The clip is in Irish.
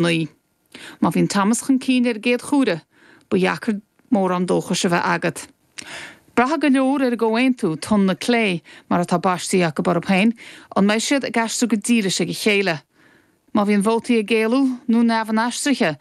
9. Má bhíonn Thomas chun cinn ar an gcéad chuaire, ba dheacair mórán dóchais a bheith agat. Braithfidh go leor ar an gcomhaontú, Tonn na Clé, mar atá baistí acu orthu féin, an mbeidh siad ag aistriú go dílis ag a chéile? Má bhíonn vótaí ag éalú nó neamh-inaistrithe?